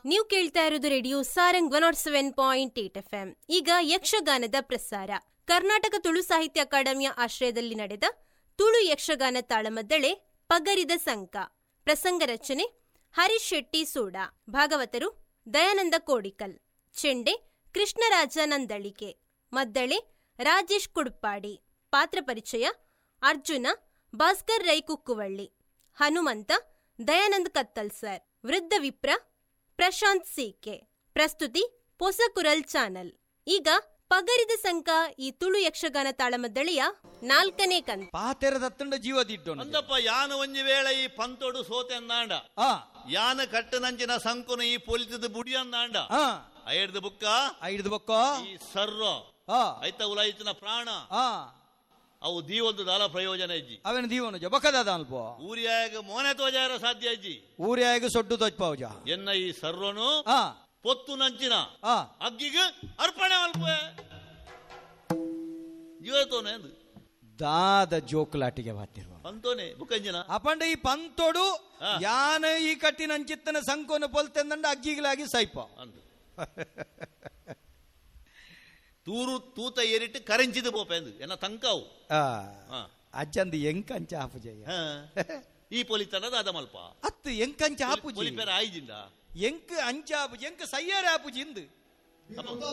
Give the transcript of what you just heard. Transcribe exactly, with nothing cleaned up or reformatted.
ನೀವು ಕೇಳ್ತಾ ಇರೋದು radio Sarang one nought seven point eight F M. ಈಗ ಯಕ್ಷಗಾನದ ಪ್ರಸಾರ. ಕರ್ನಾಟಕ ತುಳು ಸಾಹಿತ್ಯ ಅಕಾಡೆಮಿಯ ಆಶ್ರಯದಲ್ಲಿ ನಡೆದ ತುಳು ಯಕ್ಷಗಾನ ತಾಳಮದ್ದಳೆ ಪಗರಿದ ಸಂಕ. ಪ್ರಸಂಗ ರಚನೆ ಹರೀಶ್ ಶೆಟ್ಟಿ ಸೋಡಾ, ಭಾಗವತರು ದಯಾನಂದ ಕೋಡಿಕಲ್, ಚೆಂಡೆ ಕೃಷ್ಣರಾಜ ನಂದಳಿಕೆ, ಮದ್ದಳೆ ರಾಜೇಶ್ ಕುಡ್ಪಾಡಿ. ಪಾತ್ರ ಪರಿಚಯ: ಅರ್ಜುನ ಭಾಸ್ಕರ್ ರೈ ಕುಕ್ಕುವಳ್ಳಿ, ಹನುಮಂತ ದಯಾನಂದ್ ಕತ್ತಲ್ ಸರ್, ವೃದ್ಧ ವಿಪ್ರ ಪ್ರಶಾಂತ್ ಸಿಕೆ. ಪ್ರಸ್ತುತಿ ಪೊಸಕುರಲ್ ಚಾನಲ್. ಈಗ ಪಗರಿದ ಸಂಕ ಈ ತುಳು ಯಕ್ಷಗಾನ ತಾಳಮದ್ದಳೆಯ ನಾಲ್ಕನೇ ಕಂತು. ಪಾತೆರದತ್ತಂಡ ಜೀವದಿಟ್ಟು ಅಂದಪ್ಪ ಯಾನ ಒಂಜಿ ವೇಳೆ ಈ ಪಂತೋಡು ಸೋತೆ ಅಂದಾಂಡ, ಆ ಯಾನ ಕಟ್ಟನಂಚಿನ ಸಂಕುನ ಈ ಪೊಲಿತದ ಬುಡಿ ಅಂದಾಂಡ, ಆ ಐಡ್ದು ಬುಕ್ಕ ಐಡ್ದು ಬೊಕ್ಕ ಈ ಸರ್ರೋ ಆ ಐತ ಉಲಾಯಿತಿನ ಪ್ರಾಣ ಆ ಅವು ದೀವೊಂದು ದಾಲ ಪ್ರಯೋಜನ ಇಜ್ಜಿ. ಅವನ ದೀವನ ಬೊಕ್ಕದಾದ ಅಲ್ಪ ಊರಿಯಾಗ ಮೋನೆ ತೋಜಾರ ಸಾಧ್ಯ ಇಜ್ಜಿ. ಊರ್ಯಾಗ ಸೊಡ್ಡು ತೋಜ್ಪಾವುಜ ಎನ್ನ ಈ ಸರ್ರೋನು ಆ ಪೊತ್ತು ನಂಚಿನ ಆ ಅಗ್ಗಿಗೆ ಅರ್ಪಣೆ ಮಲ್ಪ ಜೀವತೋನೆ ಅಂದು ದಾದ ಜೋಕುಲಾಟಿಗೆ ಬಾತಿರುವ ಪಂತೋನೆ ಬುಕ್ಕಂಜಿನ ಅಪಂಡ ಈ ಪಂತೋಡು ಆ. ಯಾನ ಈ ಕಟ್ಟಿನ ಅಂಚಿತ್ತನ ಸಂಕೋನ ಪೊಲ್ತೆಂದಂಡ ಅಗ್ಗಿಗ್ಲಾಗಿ ಸೈಪ ಅಂದು ತೂರು ತೂತ ಏರಿಟ್ಟು ಕರೆಂಚಿದು ಪೋಪೆಂದು ಎನ್ನ ತಂಕಾವು. ಆ ಆ. ಅಜ್ಜಂದು ಎಂಕಂಚ ಆಪುಜಯ್ಯ. ಹಾ. ಈ ಪೊಲಿತನ ದಾದ ಮಲ್ಪ ಅತ್ತು ಎಂಕಂಚ ಆಪುಜಿ ಪೊಲಿಪೇರ ಆಯ್ಜಿಂದ ಎಂಕ್ ಅಂಚ ಆಪುಜಿ ಎಂಕ್ ಸಯ್ಯಾರ ಆಪುಜಿ ಇಂದು. ಅಪ್ಪ.